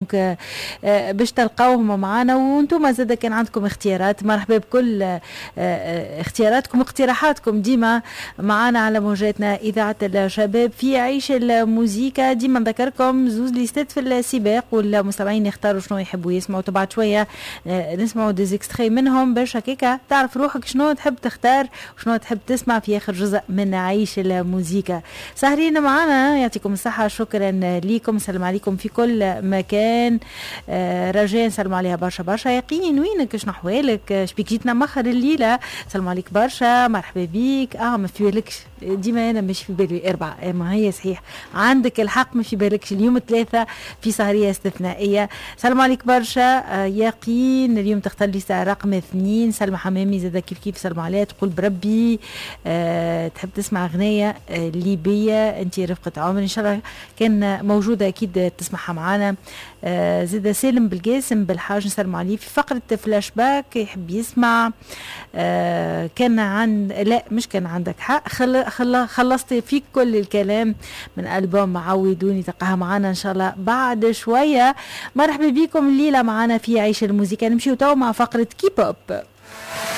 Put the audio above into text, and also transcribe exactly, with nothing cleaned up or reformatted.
donc آه، باش تلقاوهم معنا، وانتم زاد كان عندكم اختيارات مرحبا بكل آه، آه، اختياراتكم واقتراحاتكم ديما معنا على موجاتنا اذاعة الشباب في عيش الموزيكا. ديما نذكركم زوز ليستات في السباق، والمستمعين يختاروا شنو يحبوا يسمعوا. بعد شوية نسمعوا des extraits منهم باش هكاكا تعرف روحك شنو تحب تختار وشنو تحب تسمع في اخر جزء من عيش الموزيكا. سهرين معنا، يعطيكم الصحه، شكرا لكم، سلام عليكم في كل مكان. آه رجاء نسلم عليها برشا برشا. يقين وينك؟ شنو احوالك؟ شبيك جيتنا مخر الليله؟ سلام عليك برشا، مرحبا بيك. اه ما في بالكش، ديما انا مش في بالي اربعه، آه ما هي صحيح عندك الحق، ما في بالكش اليوم ثلاثة في سهريه استثنائيه. سلام عليك برشا آه يقين، اليوم تختار لي رقم اثنين. سلمى حمامي زاد كيف كيف، سلام عليها، تقول بربي أه تحب تسمع اغنية آه ليبيه، انت رفقه عمري، ان شاء الله كان موجودة اكيد تسمعها معنا. آه زاد سالم بالقاسم بالحاج نسلم عليه في فقرة فلاش باك، يحب يسمع آه كان عن لا مش كان عندك حق، خل خل خلصت فيك كل الكلام من ألبوم عودوني، تلقاها معنا إن شاء الله بعد شوية. مرحبا بكم الليلة معنا في عيش الموسيقى. نمشيو تو مع فقرة كيبوب.